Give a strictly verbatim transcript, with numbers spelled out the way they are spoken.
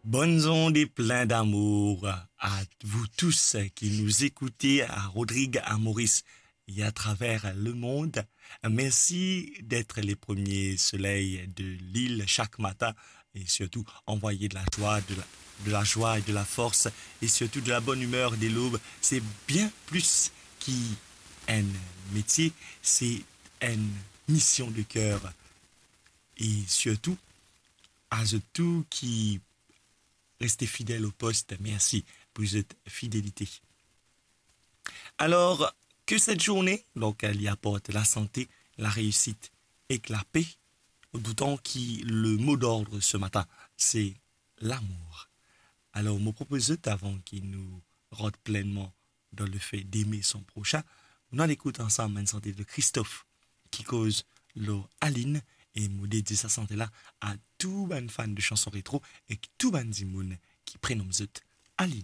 Bonne onde et plein d'amour à vous tous qui nous écoutez à Rodrigues, à Maurice et à travers le monde. Merci d'être les premiers soleils de l'île chaque matin et surtout envoyer de la joie, de la, de la joie et de la force et surtout de la bonne humeur dès l'aube. C'est bien plus qu'un métier, c'est une mission de cœur. Et surtout, à vous tous qui restez fidèles au poste, merci pour votre fidélité. Alors, que cette journée, donc, elle y apporte la santé, la réussite et la paix, d'autant que le mot d'ordre ce matin, c'est l'amour. Alors, mo propoz zot, avan ki nou rant plenman dan lefe d'aimer son prochain, nou al ekout ansam enn sante de Christophe ki koz lor Aline, e mo dedie sa sante la a tou bann fan de chanson retro ek tou bann dimoun ki prenom zot Aline.